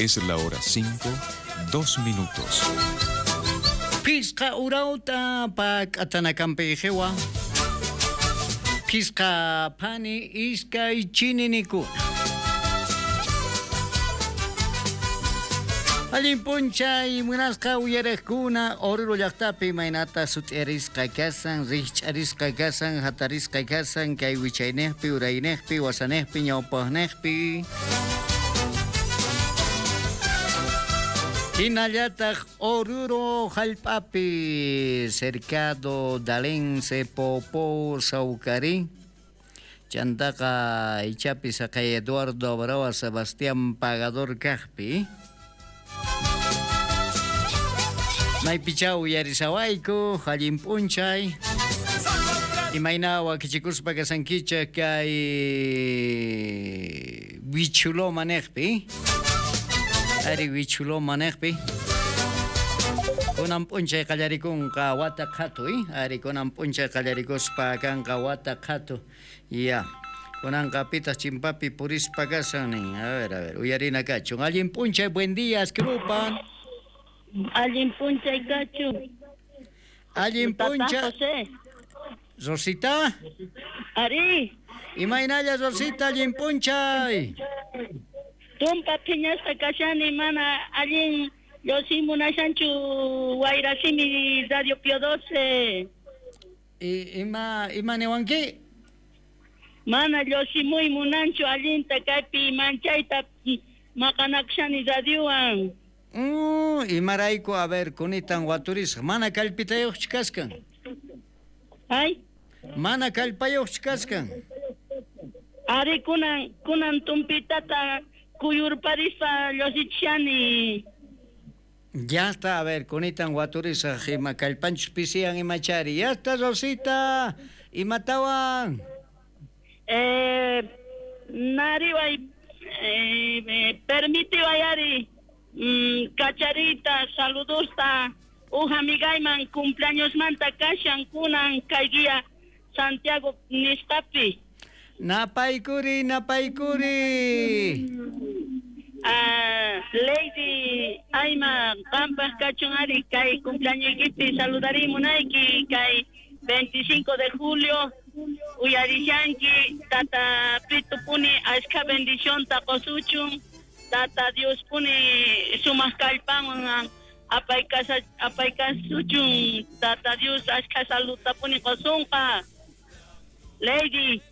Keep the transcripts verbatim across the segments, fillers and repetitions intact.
Es la hora cinco, dos minutos. Pisqa urauta pak'atanakampijewa. Pisqa phani iskay chininikuna. Allin p'unchay munasqa uyariqkuna Oruro llaqtapi imaynata sut'iarisqa kasan, rikch'arisqa kasan, hatarisqa kasan, kay wichayniqpi, urayniqpi, wasaniqpi, ñawpaqniqpi. Hinallataq Oruro hallp'api, Cercado, Dalense, Popó, Saucarí. Chantaqa ichapi saqay Eduardo Abrawa Sebastián Pagador kaqpi. Maypichaw uyarisawayku, allin p'unchay. Imayna wakichikuspa kasankichik kay Wichuloma niqpi. Ari Wichuloma niqpi. Kunan p'unchay qallarikunqa wata qhatu, ari kunan p'unchay qallarikuspa kanqa wata qhatu. Ya. Kunanqa pitaq chimpapi purispa kasan nin. A ver, a ver, uyarina kachun. Allin p'unchay, buen día, askrupan. Allin p'unchay kachun. Allin p'unchay. Rosita. Ari. Imaynalla Rosita, allin p'unchay. Tumpa phiñasqa kashani mana allin lluqsimunashanchu wayrasimi Radio Pío doce. Ima ima niwanki? Mana lluqsimuy munanchu allinta kaypi manchayta maqanakushani radiowan. Uh, imarayku, a ver, kunitan waturisaq, mana kallpitayuqchu kaskan. Ay? Mana kallpayuqchu kaskan. Ari kunan kunan tumpitata kuyurparispa lluqsichishani. Ya está, a ver, kunitan waturisaq, ima kallpanchus pisiyan imachari. Ya está, Rosita, imatawan. Eh, nariway, eh, eh, permitiway ari. Mm, kacharita, saludosta, uj amigayman cumpleaños manta kashan kunan kay día Santiago nisqapi. Napaykuri, napaykuri. Ah, Lady Ayma, qampaq kachun ari kay cumpleañoykipi saludarimunayki kay veinticinco de julio uyarishanki tata Pitupuni ashka bendición taqosuchun. Tata Dios puni sumaq kallpanwan apaykasa apaykasuchun Tata Dios ashka saludta puni qosunqa. Lady,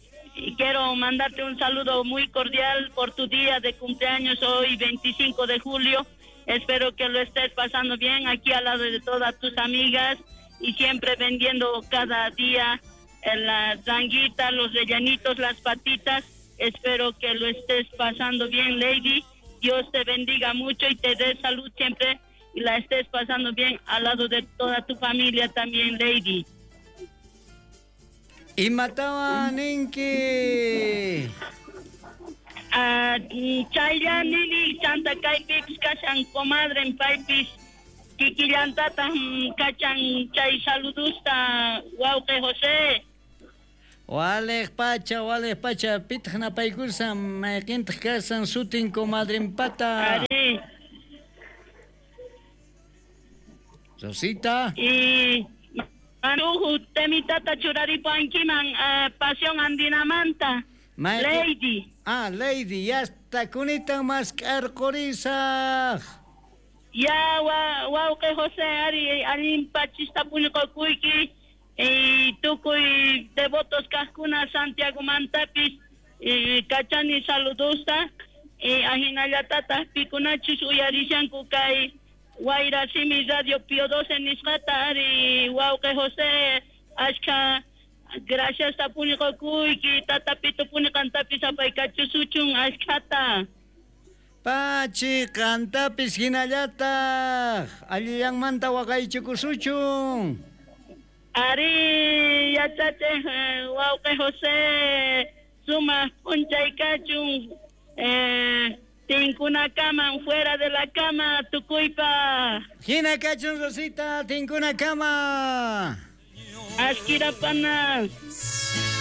quiero mandarte un saludo muy cordial por tu día de cumpleaños hoy veinticinco de julio. Espero que lo estés pasando bien aquí al lado de todas tus amigas y siempre vendiendo cada día en las zanguitas, los rellenitos, las patitas. Espero que lo estés pasando bien, Lady. Dios te bendiga mucho y te dé salud siempre y la estés pasando bien al lado de toda tu familia también, Lady. Imatawan ninki. Ah, chaylla nini chanta kaypipis kashan comadre paypis kikillantata kachan chay saludusta wawqi José. Walej pacha, walej pacha, pitaq napaykusan, mayqintaq kasan sutin comadrenpata. Ari. Rosita. Y manuju temitata churaripankiman uh, Pasión Andinamanta. Ma Lady. Ah, Lady, ya está kunitan mask'arqurisaq. Ya, wa, wawqi José, ari allin pachista puñuqakuyki. Y tukuy devotos kajkuna Santiago mantapis y kachani saludosta y ajinallatata pikunachus uyarishanku kay wayrasimi Radio Pío doce nisqata ari wawqi José ashka gracias tapuniqakuyki tata Pitupuni qantapis apaykachusuchun ashkhata. Pachi qantapis hinallataq allillanmanta waqaychikusuchun. Ari yachachiq wawqi José sumaq p'unchay kachun eh, tinkunakaman fuera de la cama tukuypa. Hina kachun Rosita, tinkunakama. Ashkirapana.